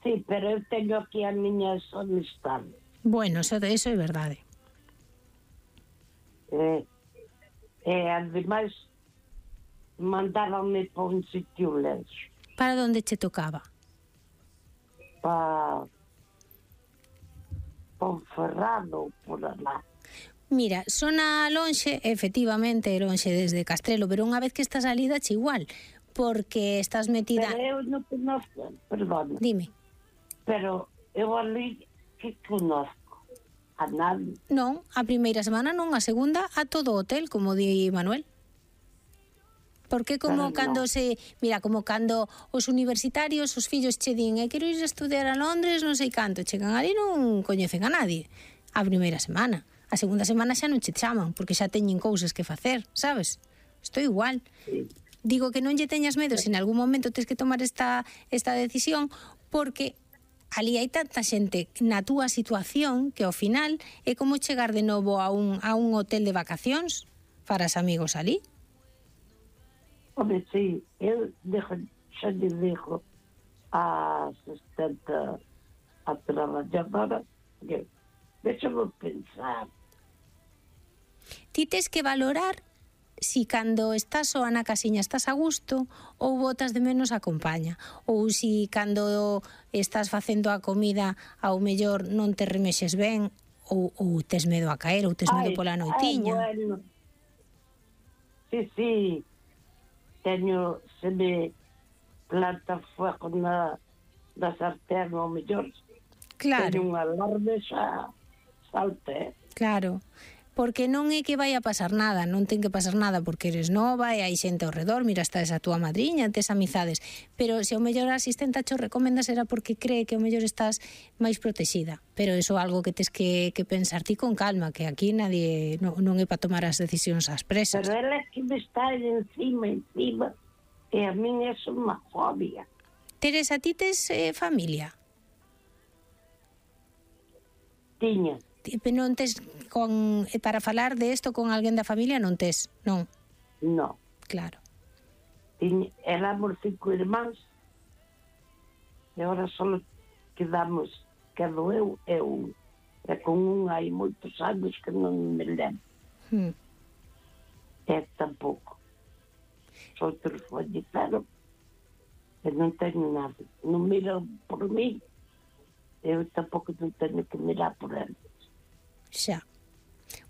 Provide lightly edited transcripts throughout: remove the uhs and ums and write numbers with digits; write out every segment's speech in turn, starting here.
Sí, pero eu teño aquí a miña amistade. Bueno, eso é verdade. Ademais, mandáronme para un sitio lenxo. Para onde che tocaba? Para Ponferrado, por lá. Mira, sona lonxe, efectivamente, lonxe desde Castrelo, pero unha vez que estás ali dache igual, porque estás metida... Pero eu non conozco, perdón. Dime. Pero eu ali que conozco a nadie. Non, a primeira semana non, a segunda a todo o hotel, como di Manuel. Porque como cando se... Mira, como cando os universitarios, os fillos che din quero ir a estudiar a Londres, non sei canto, chegan ali non coñecen a nadie. A primeira semana. A segunda semana xa non che chaman, porque xa teñen cousas que facer, sabes? Estou igual. Sí. Digo que non lle teñas medo se en algún momento tens que tomar esta decisión, porque ali hai tanta xente na túa situación que ao final é como chegar de novo a un hotel de vacacións para os amigos ali. Home, sí, eu xa lle dixo a asistente a traballadora que deixa-me pensar. Ti tes que valorar si cando estás soa na casiña estás a gusto ou botas de menos a compaña, ou si cando estás facendo a comida ao mellor non te remexes ben ou tes medo a caer ou tes medo pola noitiña. Bueno. Sí, teño, se me planta fuego na sartén ao mellor. Claro. Teño un alarme xa salte. Claro. Porque non é que vai a pasar nada, non ten que pasar nada porque eres nova e hai xente ao redor, mira, está esa túa madriña, tes amizades, pero se ao mellor a asistenta cho recomenda será porque cree que ao mellor estás máis protexida, pero iso é algo que tes que pensar ti con calma, que aquí nadie non é para tomar as decisións ás presas. Pero ela é que me está encima, e a min é unha fobia. Teresa, ti tes familia? Tiña. Non tes para falar de isto con alguén da familia, non tes, non? Non. Claro. Éramos 5 irmáns e agora só quedamos, quedo eu e un. E con un hai moitos anos que non me lembro. E tampouco. Outros fallecieron e non teño nada. Non miran por mí, eu tampouco non teño que mirar por eles. Xa.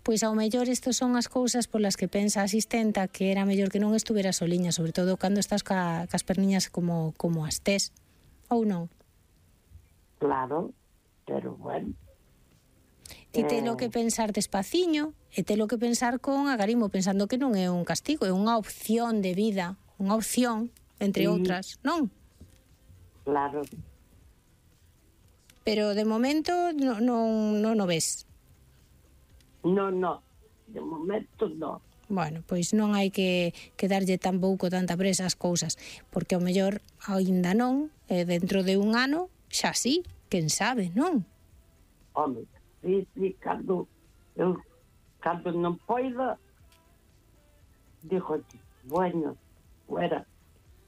Pois ao mellor estas son as cousas polas que pensa a asistenta que era mellor que non estuvera soliña, sobre todo cando estás cas perniñas como as tes, ou non? Claro, pero bueno. Ti telo que pensar despaciño e telo que pensar con agarimo, pensando que non é un castigo, é unha opción de vida, unha opción, entre outras, non? Claro. Pero de momento non o ves. Non, de momento non. Bueno, pois non hai que darlle tampouco tanta presa as cousas, porque ao mellor aínda non, dentro de un ano, xa sí, quen sabe, non? Home, sí, cando non poida, dixo, bueno, fuera.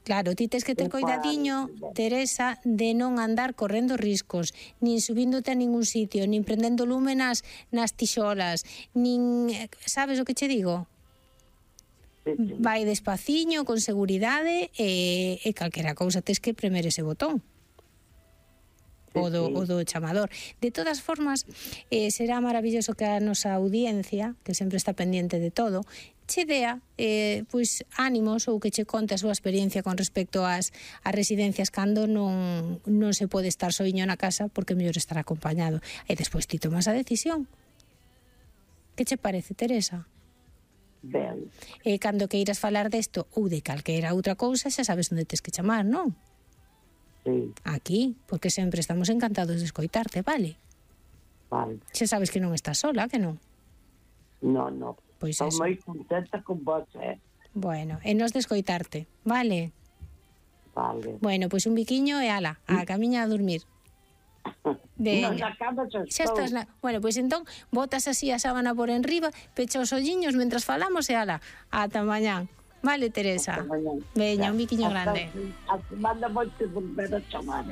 Claro, ti tes que ter coidadiño, Teresa, de non andar correndo riscos, nin subíndote a ningún sitio, nin prendendo lume nas tixolas, nin... Sabes o que che digo? Sí. Vai despaciño, con seguridade, e calquera cousa tes que premer ese botón. O do chamador. De todas formas, será maravilloso que a nosa audiencia, que sempre está pendiente de todo, che dea pois ánimos ou que che conte a súa experiencia con respecto ás residencias cando non se pode estar soiño na casa porque é mellor estar acompañado. E despois ti tomas a decisión. Que che parece, Teresa? Ben. E cando queiras falar desto ou de calquera outra cousa, xa sabes onde tes que chamar, non? Sí. Aquí, porque sempre estamos encantados de escoitarte, vale? Vale. Xa sabes que non estás sola, que non? Non. Pois estou eso. moi contenta con vos, Bueno, e nos de escoitarte, vale? Vale. Bueno, pois un biquiño e ala, a camiña a dormir. Non, na cama xa estou. Bueno, pois entón, botas así a sábana por enriba, pecha os olliños mentras falamos e ala, ata mañán. Vale, Teresa? Hasta mañán. Veña, un biquiño grande. Manda moito volver a chamar,